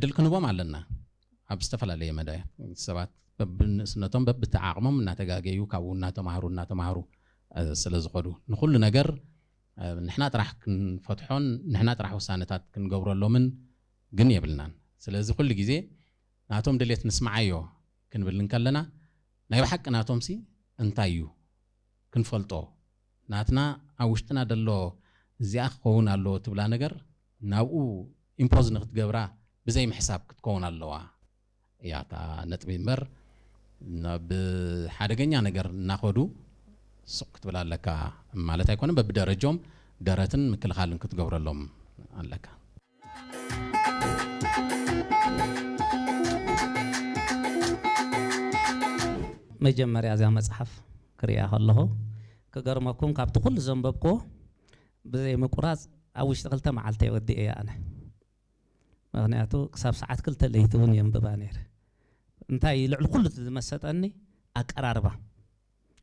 ድል ክንቦም ኣለና። ኣብ ዝተፈላለየ መዳያት ሰባት በብንእስነቶም በብተዓቕሞም እናተጋገዩ ካብኡ እናተማሃሩ እናተማሃሩ ስለ ዝኸዱ ንኩሉ ነገር ንሕና ጥራሕ ክንፈትሖን ንሕና ጥራሕ ውሳነታት ክንገብረሎምን ግን የብልናን። ስለዚ ኩሉ ግዜ ናቶም ድሌት ንስምዓዮ ክንብል እንከለና ናይ ብሓቂ ናቶም ሲ እንታይ እዩ ክንፈልጦ ናትና ኣብ ውሽጥና ደሎ እዚኣ ክኸውን ኣለዎ ትብላ ነገር ናብኡ ኢምፖዝ ንክትገብራ ብዘይ ምሕሳብ ክትከውን ኣለዋ እያ እታ ነጥቢ እምበር ናብ ሓደገኛ ነገር እናኸዱ ሱቕ ክትብል ኣለካ ማለት ኣይኮነን። በብደረጃኦም ደረትን ምክልኻልን ክትገብረሎም ኣለካ። መጀመርያ እዛ መፅሓፍ ክሪኣ ከለኹ ክገርመኩም ካብቲ ኩሉ ዘንበብክዎ ብዘይ ምቁራፅ ኣብ ውሽጢ ክልተ መዓልቲ ወዲኤ እያ ኣነ። ምክንያቱ ክሳብ ሰዓት ክልተ ለይቲ እውን የንብባ ነይረ። እንታይ ልዕሊ ኩሉ ዝመሰጠኒ ኣቀራርባ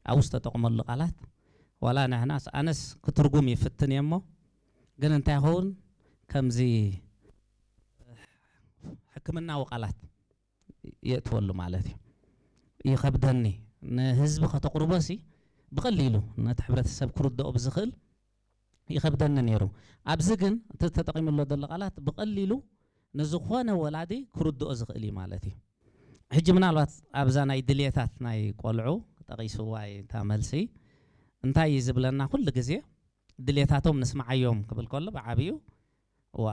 ኣብኡ ዝተጠቕመሉ ቃላት ዋላ ንሕናስ ኣነስ ክትርጉም ይፍትን እየ እሞ ግን እንታይ ይኸውን ከምዚ ሕክምናዊ ቃላት የእትወሉ ማለት እዩ። ይኸብደኒ ንህዝቢ ከተቕርቦ ሲ ብቐሊሉ ነቲ ሕብረተሰብ ክርድኦ ብዝኽእል ይኸብደኒ ነይሩ። ኣብዚ ግን እቲ ተጠቒምሎ ዘሎ ቃላት ብቐሊሉ ንዝኾነ ወላዲ ክርድኦ ዝኽእል እዩ ማለት እዩ። ሕጂ ምናልባት ኣብዛ ናይ ድልየታት ናይ ቆልዑ ጠቒስዋ እታ መልሲ እንታይ እዩ ዝብለና ኩሉ ግዜ ድሌታቶም ንስምዓዮም ክብል ከሎ ብዓብዩ ዋ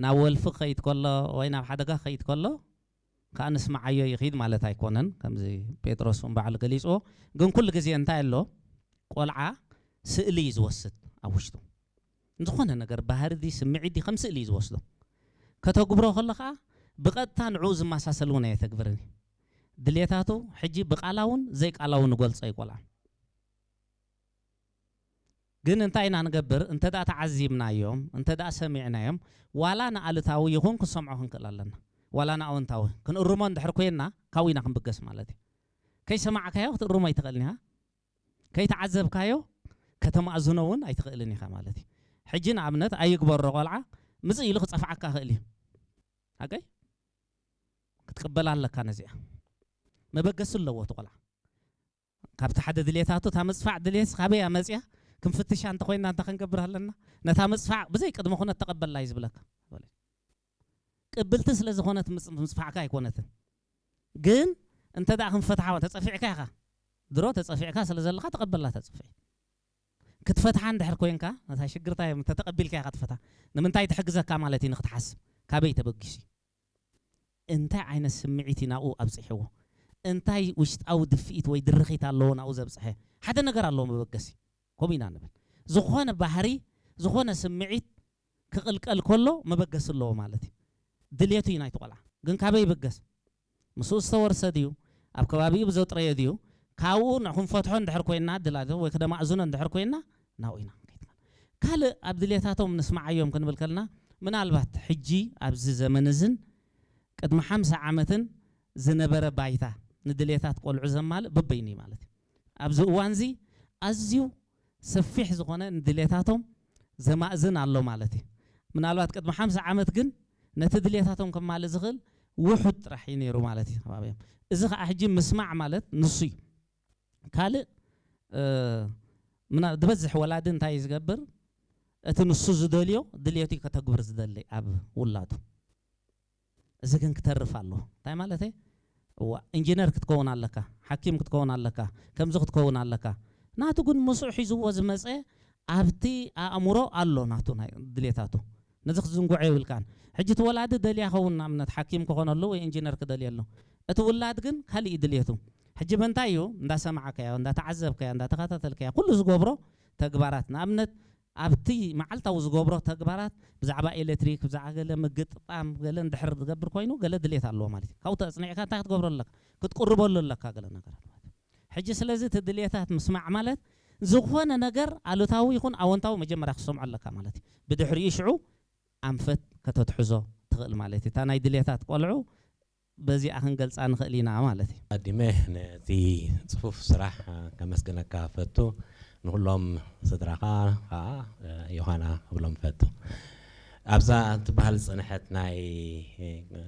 ናብ ወልፊ ክኸይድ ከሎ ወይ ናብ ሓደጋ ክኸይድ ከሎ ከዓ ንስምዓዮ ይኽይድ ማለት ኣይኮነን። ከምዚ ጴጥሮስ እውን ባዕሉ ገሊፅዎ። ግን ኩሉ ግዜ እንታይ ኣሎ ቆልዓ ስእሊ እዩ ዝወስድ ኣብ ውሽጡ ዝኾነ ነገር ባህሪ ዲ ስምዒት ዲ ከም ስእሊ እዩ ዝወስዶ። ከተግብሮ ከሎ ከዓ ብቐጥታ ንዕኡ ዝመሳሰል እውን ኣየተግብርን እዩ። ድሌታቱ ሕጂ ብቃላውን ዘይቃላውን ንገልጾ እዩ ቆልዓ። ግን እንታይ ኢና ንገብር እንተ ደኣ ተዓዚብናዮም እንተ ደኣ ሰሚዕናዮም ዋላ ንኣሉታዊ ይኹን ክንሰምዖ ክንክእል ኣለና። ዋላ ንኣወንታዊ ክንእርሞ እንድሕር ኮይና ካብኡ ኢና ክንብገስ ማለት እዩ። ከይሰማዕካዮ ክትእርሞ ኣይትኽእልን ኢኻ። ከይተዓዘብካዮ ከተማእዝኖ እውን ኣይትኽእልን ኢኻ ማለት እዩ። ሕጂ ንኣብነት ኣይግበሮ ቆልዓ ምጽእ ኢሉ ክጸፍዓካ ይኽእል እዩ። ሓቀይ ክትቅበላ ኣለካ ነዚኣ። መበገሲ ኣለዎ እቲ ቆልዓ። ካብቲ ሓደ ድሌታቱ እታ ምጽፋዕ ድሌት ካበይ እያ መጽያ ክንፍትሻ እንተኮይና እንታይ ክንገብር ኣለና? ነታ ምጽፋዕ ብዘይ ቅድመ ኩነት ተቐበላ እዩ ዝብለካ። ቅብልቲ ስለ ዝኾነት ምጽ- ምጽፋዕካ ኣይኮነትን። ግን እንተ ደኣ ክንፈትሓ ተጸፊዕካ ኢኻ ድሮ ተጸፊዕካ ስለ ዘለኻ ተቐበላ ተጽፍዒ ክትፈትሓ እንድሕር ኮይንካ ነታ ሽግርታ እዮም ተተቐቢልካ ኢኻ ትፈታ ንምንታይ ትሕግዘካ ማለት እዩ ንክትሓስብ ካበይ ተበጊሱ እንታይ ዓይነት ስምዒት እዩ ናብኡ ኣብፅሕዎ እንታይ ውሽጣዊ ድፍኢት ወይ ድርኺት ኣለዎ ናብኡ ዘብፅሐ ሓደ ነገር ኣለዎ መበገሲ ከምኡ ኢና ንብል ዝኾነ ባህሪ ዝኾነ ስምዒት ክቕልቀል ከሎ መበገሲ ኣለዎ ማለት እዩ ድልየቱ እዩ ናይቲ ቆልዓ ግን ካበይ ይብገስ ምስኡ ዝተወርሰ ድዩ ኣብ ከባቢኡ ብዘጥረዮ ድዩ ካብኡ ንክንፈትሖ እንድሕር ኮይና ድላዶ ወይ ክደማእዝኖ እንድሕር ኮይና ናብኡ ኢና ክንከይድ ካልእ ኣብ ድልየታቶም ንስማዓዮም ክንብል ከልና ምናልባት ሕጂ ኣብዚ ዘመን እዝን ቅድሚ ሓምሳ ዓመትን ዝነበረ ባይታ ንድልየታት ቆልዑ ዘማልእ በበይኑ እዩ ማለት እዩ ኣብዚ እዋን እዚ ኣዝዩ ሰፊሕ ዝኾነ ንድሌታቶም ዘማእዝን ኣሎ ማለት እዩ። ምናልባት ቅድሚ ሓምሳ ዓመት ግን ነቲ ድሌታቶም ከማልእ ዝኽእል ውሑድ ጥራሕ እዩ ነይሩ ማለት እዩ ከባቢኦም። እዚ ከዓ ሕጂ ምስማዕ ማለት ንሱ እዩ። ካልእ እ፣ ምና- ዝበዝሕ ወላዲ እንታይ እዩ ዝገብር? እቲ ንሱ ዝደልዮ ድሌቱ እዩ ከተግብር ዝደሊ ኣብ ውላዱ። እዚ ግን ክተርፍ ኣለዎ እንታይ ማለት እዋ ኢንጂነር ክትከውን ኣለካ ሓኪም ክትከውን ኣለካ ከምዚ ክትከውን ኣለካ ናቱ ግን ምስኡ ሒዝዎ ዝመፀ ኣብቲ ኣእምሮ ኣሎ ናቱ ናይ ድሌታቱ ነዚ ክትዝንጉዖ የብልካን ሕጂ እቲ ወላዲ ደልያ ኸውን ንኣብነት ሓኪም ክኾነሉ ወይ ኢንጂነር ክደልየሉ እቲ ውላድ ግን ካሊእ ድሌቱ ሕጂ በንታይ እዩ እንዳሰማዕካዮ እንዳተዓዘብካዮ እንዳተኸታተልካዮ ኩሉ ዝገብሮ ተግባራት ንኣብነት ኣብቲ መዓልታዊ ዝገብሮ ተግባራት ብዛዕባ ኤሌክትሪክ ብዛዕባ ገለ ምግጥጣም ገለ እንድሕር ዝገብር ኮይኑ ገለ ድሌት ኣለዎ ማለት እዩ ካብኡ ተፅኒዕካ እንታይ ክትገብሮ ኣለካ ክትቅርበሉ ኣለካ ገለ ነገር ኣሎ ማለት እዩ ሕጂ ስለዚ እቲ ድሌታት ምስማዕ ማለት ዝኾነ ነገር ኣሉታዊ ይኹን ኣወንታዊ መጀመርያ ክሰምዖ ኣለካ ማለት እዩ ብድሕሪኡ ሽዑ ኣንፈት ከተትሕዞ ትኽእል ማለት እዩ እታ ናይ ድሌታት ቆልዑ በዚኣ ክንገልፃ ንኽእል ኢና ማለት እዩ። ኣዲመ ነቲ ፅፉፍ ስራሕ ከመስግነካ ፈቱ ንኩሎም ስድራኻ ከዓ ዮሃና ክብሎም ፈቱ ኣብዛ ትበሃል ዝፅንሐት ናይ